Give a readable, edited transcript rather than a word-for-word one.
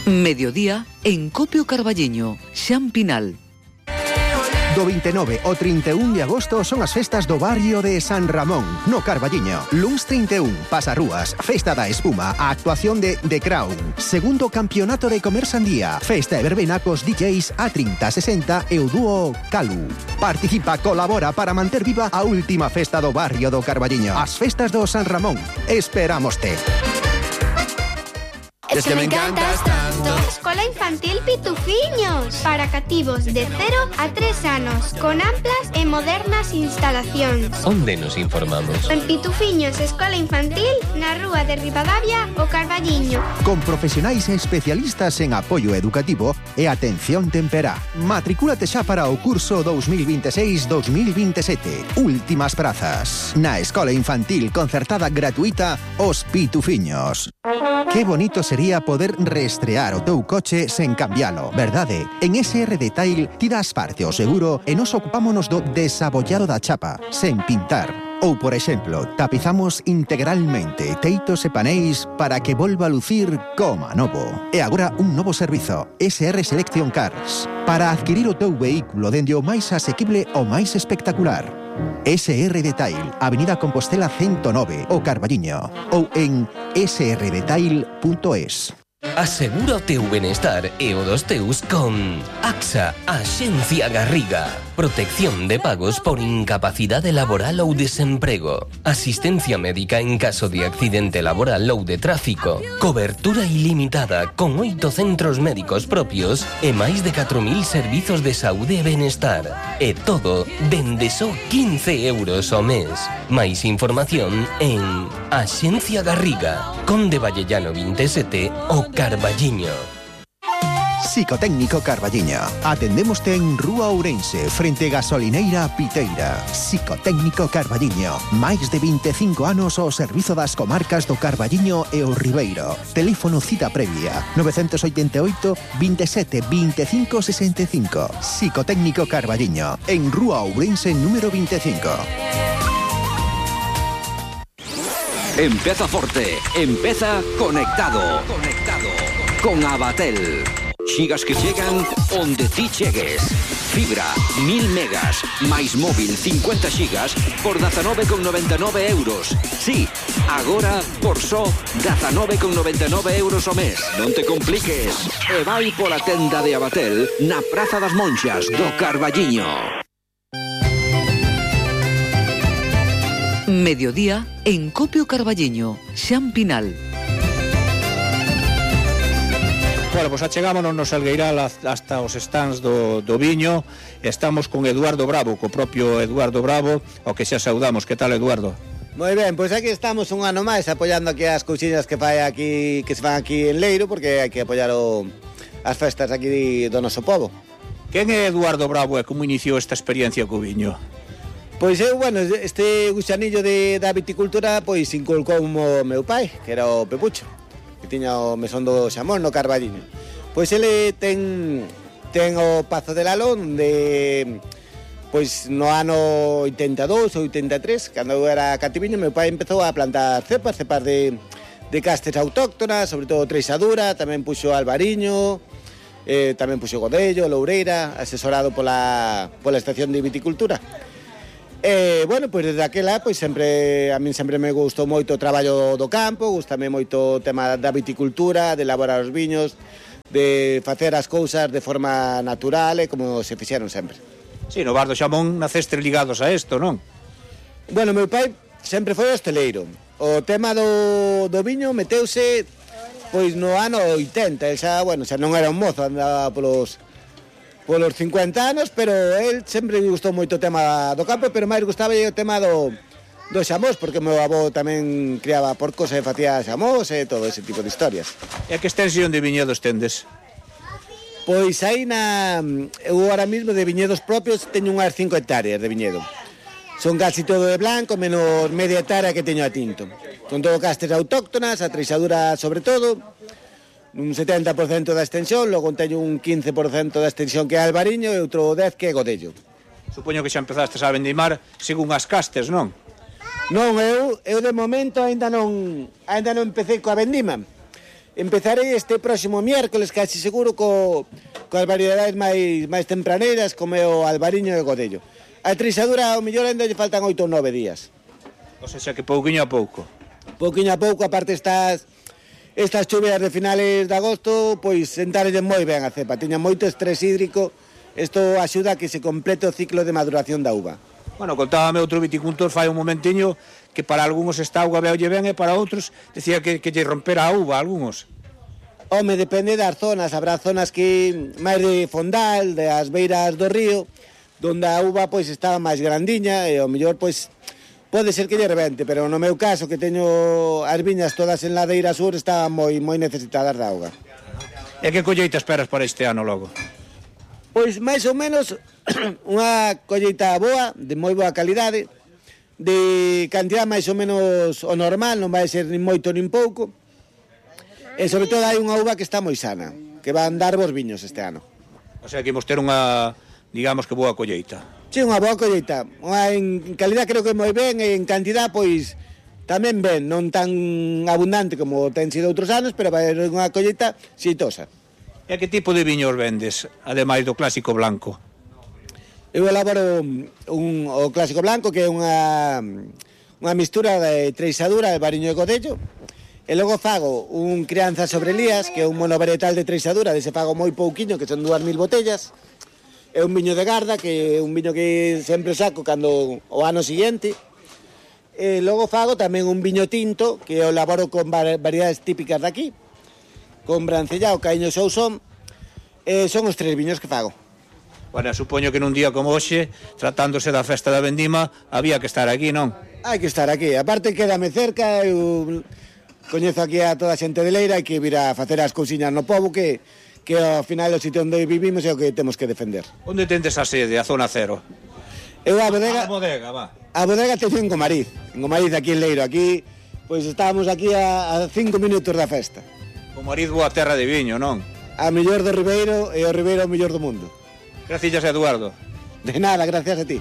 Mediodía en Copio Carballiño, Xan Pinal. Do 29 ao 31 de agosto son as festas do barrio de San Ramón, no Carballiño. Luns 31, pasarrúas, festa da espuma, a actuación de The Crown, segundo campeonato de comer sandía, festa e verbena cos DJs A3060 e o dúo Calu. Participa, colabora para manter viva a última festa do barrio do Carballiño. As festas do San Ramón. Esperámoste. Es que me encantas tanto. Escola Infantil Pitufiños, para cativos de 0 a 3 anos, con amplas e modernas instalacións. Onde nos informamos? En Pitufiños Escola Infantil, na rúa de Ribadavia, o Carballiño. Con profesionais e especialistas en apoio educativo e atención temperá. Matricúlate xa para o curso 2026-2027. Últimas prazas. Na Escola Infantil concertada gratuita Os Pitufiños. Que bonito sería poder reestrear o teu coche sen cambialo, verdade? En SR Detail tiras parte ao seguro e nos ocupámonos do desabollado da chapa, sen pintar. Ou, por exemplo, tapizamos integralmente teitos e paneis para que volva a lucir como novo. E agora un novo servizo, SR Selection Cars, para adquirir o teu vehículo dende o máis asequible ao máis espectacular. SR Detail, Avenida Compostela 109, o Carballiño, ou en srdetail.es. Asegura o teu benestar e o dos teus con AXA, Axencia Garriga. Protección de pagos por incapacidade laboral ou desemprego. Asistencia médica en caso de accidente laboral ou de tráfico. Cobertura ilimitada con 8 centros médicos propios e máis de 4.000 servizos de saúde e benestar. E todo dende só 15 euros ao mes. Máis información en Axencia Garriga, Conde Vallellano 27, o Carballiño. Psicotécnico Carballiño. Atendémoste en Rúa Ourense, frente Gasolineira Piteira. Psicotécnico Carballiño. Máis de 25 anos ao servizo das comarcas do Carballiño e o Ribeiro. Teléfono cita previa 988 27 25 65. Psicotécnico Carballiño, en Rúa Ourense número 25. Empeza forte, empeza conectado. Con Abatel. Xigas que chegan onde ti chegues. Fibra, 1000 megas, máis móvil 50 xigas por 19,99 euros. Sí, agora por só 19,99 euros ao mes. Non te compliques. E vai pola tenda de Abatel na Praza das Monxas do Carballiño. Mediodía en Copio Carballiño, Xan Pinal. Bueno, pois achegámonos no Salgueiral hasta os stands do viño. Estamos con Eduardo Bravo, co propio Eduardo Bravo, ao que xa saudamos. Que tal, Eduardo? Moi ben, pois aquí estamos un ano máis apoiando aquí as cousiñas que fai aquí, que se fan aquí en Leiro, porque hai que apoiar as festas aquí do noso pobo. Quen é Eduardo Bravo e como iniciou esta experiencia co viño? Pois eu, bueno, este gusanillo da viticultura, pois inculcou o meu pai, que era o Pepucho, que tiña o mesón do Xamón no Carballiño. Pois ele ten o Pazo de Lalón de, pois no ano 82 ou 83, cando eu era cativiño, meu pai empezou a plantar cepas de castes autóctonas, sobre todo Treixadura, tamén puxo Albariño, tamén puxo Godello, Loureira, asesorado pola estación de viticultura. Bueno, pois desde aquela, pois a min sempre me gustou moito o traballo do campo, gustame moito o tema da viticultura, de elaborar os viños, de facer as cousas de forma natural e como se fixeron sempre. Sí, no bar do Xamón nacestes ligados a isto, non? Bueno, meu pai sempre foi hosteleiro. O tema do viño meteuse pois no ano 80, el xa non era un mozo, andaba polos 50 anos, pero el sempre gustou moito o tema do campo, pero máis gustaba o tema do xamós, porque o meu avó tamén criaba porcos e facía xamós e todo ese tipo de historias. E a que extensión de viñedos tendes? Pois aí eu ahora mismo de viñedos propios teño unhas 5 hectáreas de viñedo. Son casi todo de blanco, menos media hectárea que teño a tinto. Son todo castes autóctonas, a Treixadura sobre todo, un 70% da extensión, logo teño un 15% da extensión que é Albariño e outro 10% que é Godello. Supoño que xa empezastes a vendimar según as castes, non? Non, eu de momento ainda non empecé coa vendima. Empezarei este próximo miércoles, casi seguro, coas variedades máis tempraneiras, como o albariño e o godello. A treixadura, ao mellor, ainda lle faltan 8 ou 9 días. O sea que pouquiño a pouco. Pouquiño a pouco, aparte estas chuvias de finales de agosto, pois sentarelle moi ben a cepa. Tiña moito estrés hídrico, isto axuda a que se complete o ciclo de maduración da uva. Bueno, contábame outro viticultor fai un momentiño que para algúns esta auga veolle ben e para outros decía que lle rompera a uva a algúns. Home, depende das zonas, habrá zonas que máis de fondal, das beiras do río, donde a uva pois estaba máis grandiña e ao mellor pois pode ser que lle rebente, pero no meu caso que teño as viñas todas en ladeira sur estaban moi necesitadas da auga. E que colleita esperas para este ano logo? Pois máis ou menos unha colleita boa, de moi boa calidade, de cantidad máis ou menos o normal, non vai ser nin moito nin pouco. E sobre todo hai unha uva que está moi sana, que van dar bons viños este ano. O sea que imos ter unha, digamos que boa colleita. Sí, unha boa colleita. En calidad creo que moi ben, e en cantidad pois tamén ben, non tan abundante como ten sido outros anos, pero vai ser unha colleita xeitosa. E que tipo de viños vendes, ademais do clásico blanco? Eu elaboro o clásico blanco, que é unha mistura de treixadura de albariño e godello. E logo fago un crianza sobre lías, que é un monovarietal de treixadura, dese fago moi pouquiño, que son 2.000 botellas. É un viño de garda, que é un viño que sempre saco cando o ano seguinte. E logo fago tamén un viño tinto, que o elaboro con variedades típicas de aquí, con brancellao, caíño e sousón. Son os 3 viños que fago. Bueno, supoño que nun día como hoxe, tratándose da festa da vendima, había que estar aquí, non? Hai que estar aquí. Aparte, quédame cerca, eu coñezo aquí a toda a xente de Leira, hai que vir a facer as cousiñas no pobo, que ao final o sitio onde vivimos é o que temos que defender. Onde tendes a sede, a zona cero? Eu a bodega... A bodega, va. A bodega teño en Gomariz, aquí en Leiro. Aquí, pois estábamos aquí a 5 minutos da festa. Gomariz, boa terra de viño, non? A mellor do Ribeiro e o Ribeiro o mellor do mundo. Gracias, Eduardo. De nada, gracias a ti.